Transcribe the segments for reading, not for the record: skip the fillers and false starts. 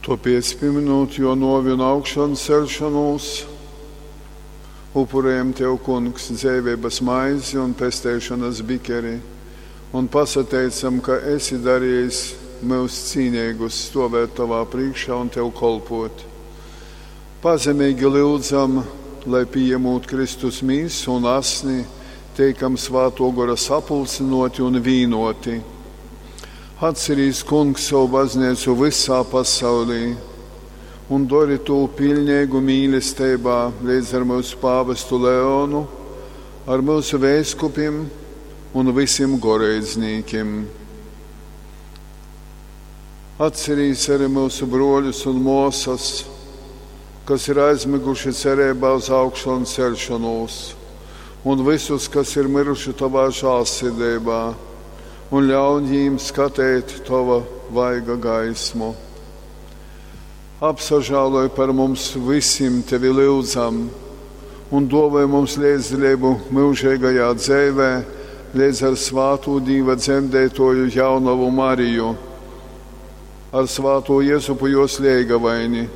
Tōpēc, pīmynūt Jō nōvi un augšanceļšonūs, upurejam Tev, Kungs, dzeiveibas maizi un pesteišonas bikeri un pasateicam, ka esi darejis myus cīneigus stōvēt Tovā prīškā un Tev kolpōt. Pazemeigi lyudzam, lai, pījamūt Kristus mīsu un asni, teikam Svātō Gora sapulcynōti un vīnōti. Atcerīs, Kungs, sovu bazneicu vysā pasaulī un dori tū piļneigu mīlesteibā leidz ar myusu pāvestu Leonu, ar myusu veiskupim un vysim goreidznīkim. Atcerīs arī myusu brōļus un mōsas, kas ir aizmyguši cereibā uz augšanceļšonūs, un vysus, kas ir myruši Tovā žālsirdeibā, un ļaun jīm skateit Tova vaiga gaismu. Apsažāloj par mums vysim Tevi lyudzam, un dōvoj mums leidzdaleibu myužeigajā dzeivē, leidz ar svātū Dīva dzemdeitōju jaunovu Mariju, ar svātū Jezupu jōs leigavaini,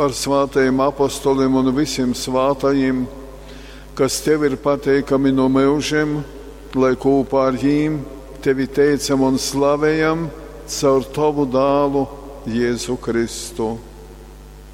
ar svātajim apostolim un vysim svātajim, kas Tev ir pateikami nu myužim, lai kūpā ar jīm Tevi teicam un slavejam caur Tovu dālu Jēzu Kristu.